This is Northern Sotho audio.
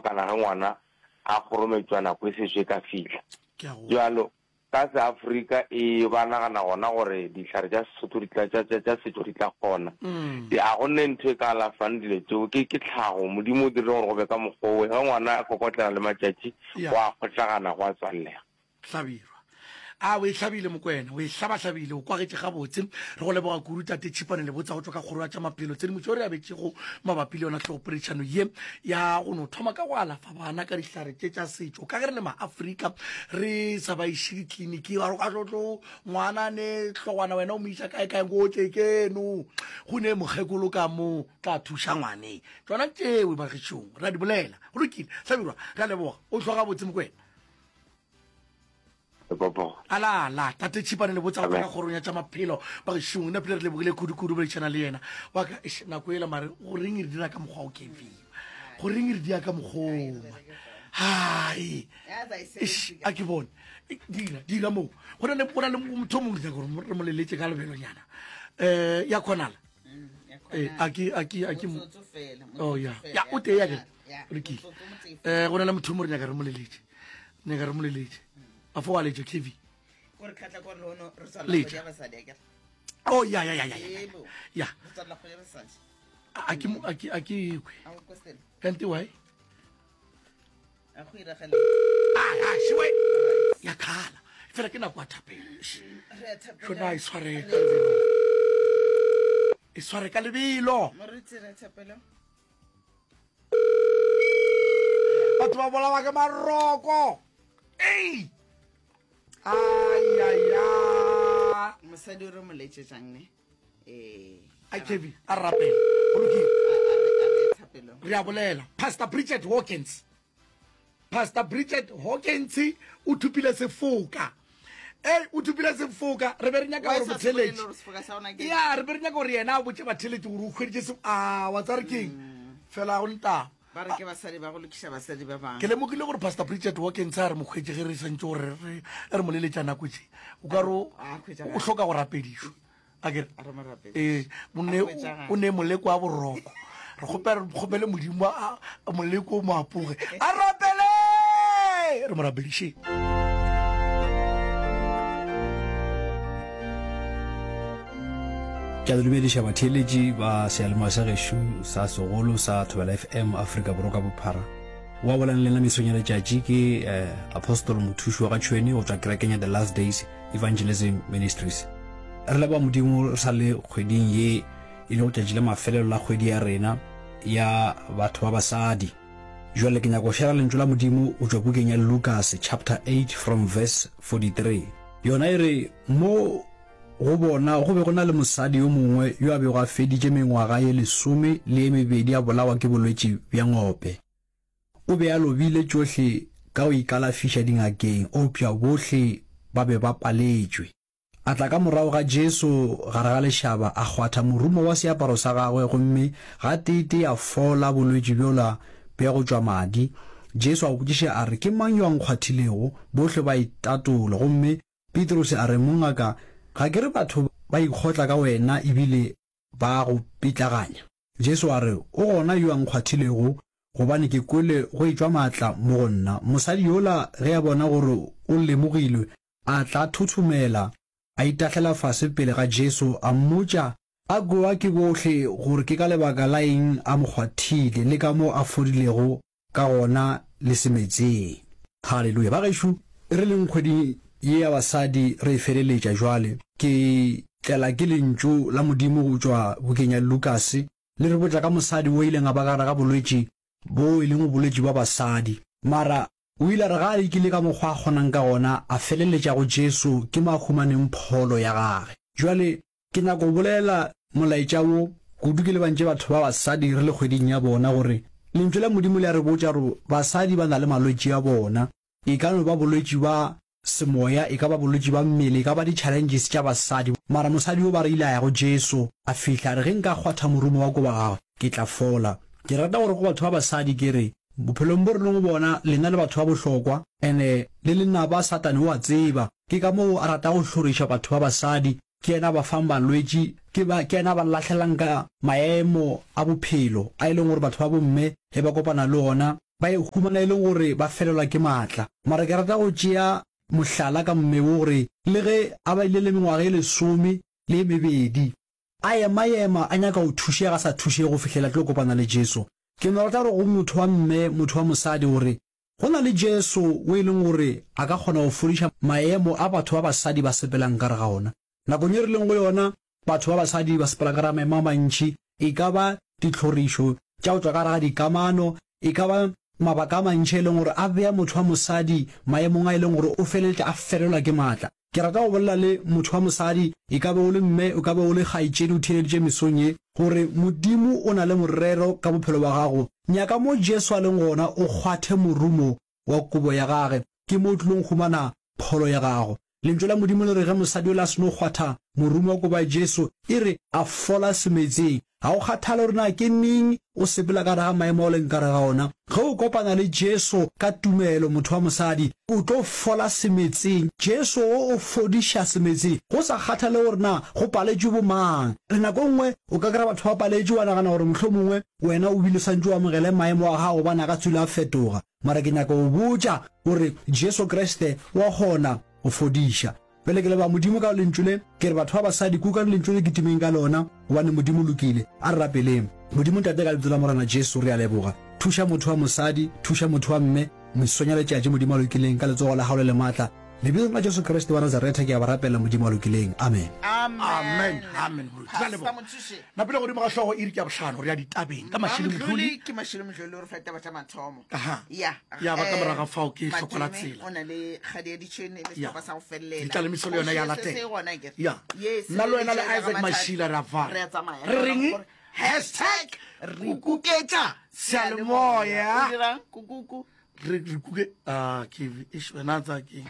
fapakana ge ngwana a kgorometšwa nako e sešo e ka fihla. Bjalo ka seAfrika e ba nagana gona gore dihlare tša Sesotho di tla, tša, tša, tša setšo di tla kgona. Di, a go ne ntho e ka alafang dilo tšeo, ke, ke tlhago. Modimo o dirile gore go be ka mokgwa owe. Ge ngwana a kokotlela le matšatši, go a kgohlagana, go a tswallega. Hlabirwa. A o e hlabile Mokwena, o e hlabahlabile, o kwagetše gabotse. Re go leboga kudu Tate Tšhipane Lebotsa go tšwa ka Kgoro ya tša Maphelo. Tshedimošo re abetšego mabapi le yona hlogopoledišano ye ya go no thoma ka go alafa bana ka dihlare tše tša setšo. Ka ge re le Maafrika re sa ba iše ditleliniki, ba re ka tlo tlo ngwana ne hlogwana wena o mo iša kae kae go tle keno go ne mokgekolo ka mo tla thuša ngwane. Tšona tšewe bagešong re a di bolela. Go lokile Hlabirwa, re a leboga. O hlwa gabotse Mokwena. Ala ala tate Tšhipane le botsa go ka kgorong ya tša maphelo ba gešong nna pele re lebogile kudu-kudu boledišana le yena wa ka eish, nako ela mare go reng re dira ka mokgwa o kevin go reng re dia ka mokgoma hai eish, a ke bone dira dira moo go na le go na le motho o mongwe ke nyaka gore re mo leletse ka lebelonyana um ya kgonala Eh, a ke a ke a ke oh ya ya o tee ya ke lokile um go na le motho mo re nyaka re mo leletse nyaka re mo leletse a fo wa letša kv letša oh ya ya ya ya ya a ke a ke a ke kwe kante why a šiwe ya khala fela ke nako ya thapelo šona e sware ka lebelo e sware ka lebelo batho ba bolawa ke maroko ei ayaya mosadi o re mo letšetšang ne eh a kevi a rapela go lokile re a bolela pastor bridget hawkins pastor bridget hawkins o thupile sefoka ei o thupile sefoka re be re nyaka gore botheletši ya re be re nyaka gore yena a botse batheletši gore o hweditše se a wa tsare keng mm. fela go ntaba ba re ke basadi ba go lokiša basadi ba bangwe ke lemogile gore pastor bridget hawkins a re mokgwetše ge re santse gore re re mo leletša nako tše o ka re o hloka go rapedišwa a kere ee o ne moleko wa boroko re kgopela re kgopele modimo a moleko o mo apoge a rapele re mo rapedišeng Ke a le dumediša batheeletši ba seyalemoya sa gešo sa segolo sa Thobela FM Afrika Borwa ka bophara. Wa bolang le nna mesong ya letšatši ke eh, Apostle Mothuši wa ga Tšhweni go tšwa kerekeng ya The Last Days Evangelism Ministries. Re leboga Modimo re sa le kgweding ye e lego tšatši la mafelelo la kgwedi ya rena ya batho ba basadi. Jwale ke nyaka go shera lentšu la Modimo go tšwa bukeng ya Lukas chapter 8 from verse 43. Yona e re, Mo go bona go be go na le mosadi yo mongwe yo a bego a feditše mengwaga ye lesome le ye mebedi a bolawa ke bolwetši bja ngope. O be a lobile tšohle ka go ikalafiša dingakeng, eupša bohle ba be ba paletšwe. A tla ka morago ga Jesu gare ga lešaba, a kgwatha morumo wa seaparo sa gagwe, gomme gateetee a fola bolwetši bjola bja go tšwa madi. Jesu a botšiša a re, Ke mang yo a nkgwathilego? Bohle ba itatola, gomme Petrose a re, Mongaka, ga ke re batho ba ikgotla ka wena e bile ba go pitlaganya? Jesu a re, O gona yo a nkgwathilego, gobane ke kwele go etšwa maatla mo go nna. Mosadi yola ge a bona gore o lemogilwe, a tla a thothomela, a itahlela fase pele ga Jesu, a mmotša a kwewa ke bohle gore ke ka lebaka la eng a mo kgwathile le ka mo a fodilego ka gona le semetseng. Haleluya! Bagešo, re leng kgweding ye ya basadi re e feleletša jwale, ke tlela ke Lentšu la Modimo go tšwa bukeng ya Lukase, le re botša ka mosadi o ileng a ba gare ga bolwetši bo e leng bolwetši bwa basadi. Mara o ile a re ga a lekile ka mokgwa a kgonang ka gona, a feleletša go Jesu ke mo a humaneng pholo ya gage. Jwale Ke nyaka go bolela molaetša wo, kudu ke lebantše batho ba basadi re le kgweding ya bona, gore Lentšu la Modimo le a re botša gore basadi ba na le malwetši a bona. E ka no ba bolwetši ba semoya, e ka ba bolwetši ba mmele, e ka ba di-challenges tša basadi. Mara mosadi yo ba re ile a ya go Jesu, a fihla a re, Ge nka kgwatha morumo wa kobo ya gagwe, ke tla fola. Ke rata gore go batho ba basadi ke re, bophelong bo re leng go bona, lena le batho ba bohlokwa, and-e le lenaba Satane o a tseba. Ke ka moo a rata go hloriša batho ba basadi. Ke yena a ba fang balwetši, ke ba, ke yena a ba lahlelang ka maemo a bophelo a e leng gore batho ba bomme ge ba kopana le ona. ba e humana e leng gore ba felelwa ke maatla. Mara ke rata go tšea mohlala ka mme wo gore le ge a baile le mengwaga e lesome le e mebedi a ema-ema a nyaka go thušega a sa thušege go fihlela a tlo kopana le Jesu. Ke no rata gore go motho wa mme, motho wa mosadi gore go na le Jesu wo e leng gore a ka kgona go fodiša maemo a batho ba basadi ba sepelang ka gare ga ona. Nakong ye re leng go yona, batho ba basadi ba sepela ka gare ga maemo a mantši, e ka ba ditlhorišo tša go tšwa ka gare ga dikamano, e ka ba mabaka a mantši a e leng gore a bea motho wa mosadi maemong a e leng gore o feleletša a felelwa ke matla. Ke rata go bolela le motho wa mosadi, e ka be o le mme, o ka be o le kgaetšedi o theeleditše mesong ye, gore Modimo o na le morero ka bophelo bja gago. Nyaka mo Jesu a leng gona, o kgwathe morumo wa kobo ya gage, ke mo o tlilong humana pholo ya gago. Lentšu la Modimo le re ge mosadi yola a seno kgwatha morumo wa kobo ya Jesu, e re a fola semetseng. Ga go kgathale gore na ke neng o sepela ka gare ga maemo a o leng ka gare ga ona, ge o kopana le Jesu ka tumelo, motho wa mosadi, o tlo fola semetseng. Jesu o o fodiša semetseng, go sa kgathale gore na go paletšwe bomang. Le nako e nngwe o ka kry-a batho ba paletšwe, wa nagana gore mohlomongwe wena o bile o santše o amogele maemo a gago gobane a ka tswile a fetoga. Mara ke nyaka go botša gore Jesu Kriste wa kgona go fodiša. Bjale ke leboga Modimo ka Lentšu le. Ke re batho ba basadi, kukang Lentšu le kitimeng ka lona, gobane Modimo o lokile. A re rapeleng. Modimo Tate, ka Lebitso la Morena Jesu, re a leboga. Thuša motho wa mosadi, thuša motho wa mme, mesong ya letšatši, Modimo a lokileng, ka letsogo la Gago le le maatla. Lebitsong la Jesu Kriste wa Nazaretha ke a ba rapela, Modimo a lokileng. Amen. Amen. Amen. Moruti. Re a leboga. Napile godimo ga hlogo iri ke ya bohlano, re ya ditabeng ka Mashilo Mdluli. Ke Mashilo Mdluli o re fa ditaba tša mathomo. Aha. Ya. Ya ba ka morago ga fao ke hloko la tsela. O na le kgadi ya ditšhene le sehlopha sa go felela. Ditlalemiso le yona ya latela. Se gona ke. Ya. Nna le wena le Isaac Mashila re a fana. Re a tsamaya. Re reng? Hashtag re kuketša seyalemoya. O dirang kukuku? Re re kuke ah ke eish wena tsa ke.